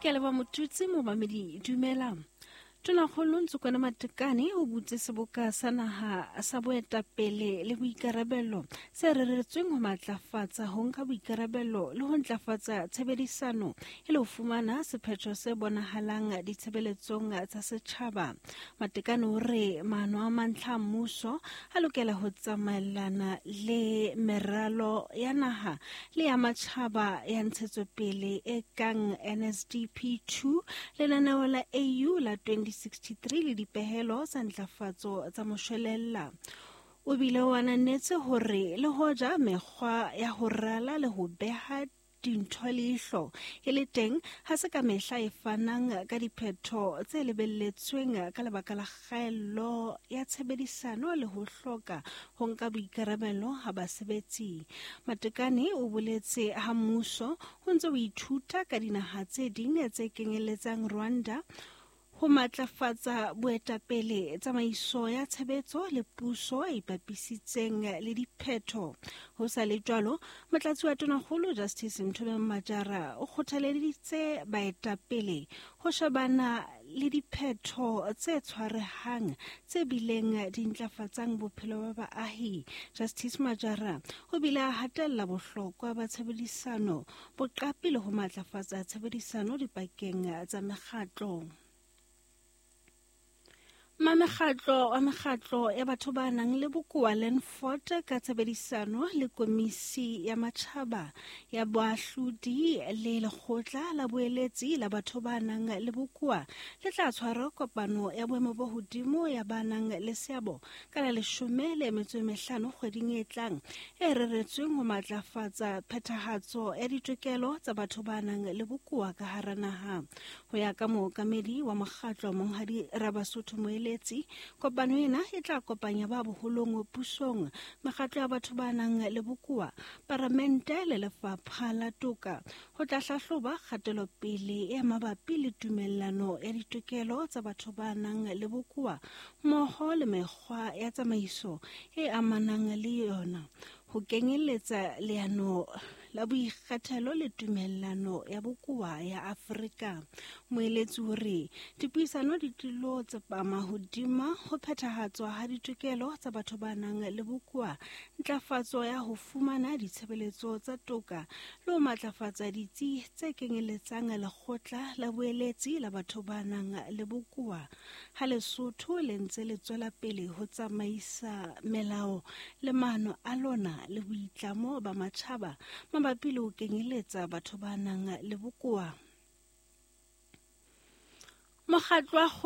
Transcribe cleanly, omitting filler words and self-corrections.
Ke a leboha Motutsi, momamedi dumela. Tonakgolo Ntsokwana Matekane o butse seboka sa naha sa boetapele le boikarabelo se reretsweng ho matlafatsa ho nka boikarabelo le ho ntlafatsa tshebedisano e le ho fumana sephetho se bonahalang ditshebeletsong tsa setjhaba. Matekane o re maano a mantlha a mmuso a lokela ho tsamaellana le meralo ya naha le ya matjhaba ya ntshetsopele e kang NSDP 2, lenaneo la AU la 2063 le dipehelo tsa ntlafatso tsa moshwelella. O bile o ananetse hore le hoja mekgwa ya ho rala le ho beha dintho leihlo e le teng, ha se ka mehla e fanang ka diphetho tse lebelletsweng ka lebaka la kgaello ya tshebedisano le ho hloka ho nka boikarabelo ha basebetsi. Matekane o boletse ha mmuso o ntse o ithuta ka dinaha tse ding tse kenyelletsang Rwanda ho matlafatsa boetapele, tsamaiso ya tshebetso le puso e ipapisitseng le diphetho. Ho sa le jwalo, Motlatsi wa Tonakgolo Justice Nthomeng Majara o kgothaleditse baetapele ho shebana le diphetho tse tshwarehang tse bileng di ntlafatsang bophelo ba baahi. Justice Majara o bile a hatella bohlokwa ba tshebedisano, boqapi le ho matlafatsa tshebedisano dipakeng tsa mekgatlo. Mamekgatlo wa mekgatlo ya batho ba nang le bokowa Landford ka tshebedisano le Komisi ya Matjhaba ya Boahlodi le Lekgotla la Boeletsi la Batho ba nang le Bokowa le tla tshwara kopano ya boemo bo hodimo ya ba nang le seabo ka la 15 kgweding e tlang e reretsweng ho matlafatsa phethahatso ya ditokelo tsa batho ba nang le bokowa ka hara naha. Ho ya ka mookamedi wa mokgatlo Monghadi Rabasotho Moeletsi, kopano ena e tla kopanya ba boholong pusong, mekgatlo ya batho ba nang le bokowa, paramente le lefapha la toka ho tla hlahloba kgatelopele e mabapi le tumellano ya ditokelo tsa batho ba nang le bokowa mmoho le mekgwa ya tsamaiso e amanang le yona, ho kenyeletsa leano la boikgethelo le tumellano ya bokowa ya Afrika. Moeletsi o re dipuisano di tlilo tsepama hodima ho phethahatswa ha ditokelo tsa batho ba nang le bokowa, ntlafatso ya ho fumana ditshebeletso tsa toka le ho matlafatsa ditsi tse kenyeletsang lekgotla la boeletsi la batho ba nang le bokowa. Ha Lesotho le ntse le tswela pele ho tsamaisa melao le maano a lona le boitlamo ba matjhaba mabapi le ho kenyeletsa batho ba nang le bokowa. Mokgatlo wa.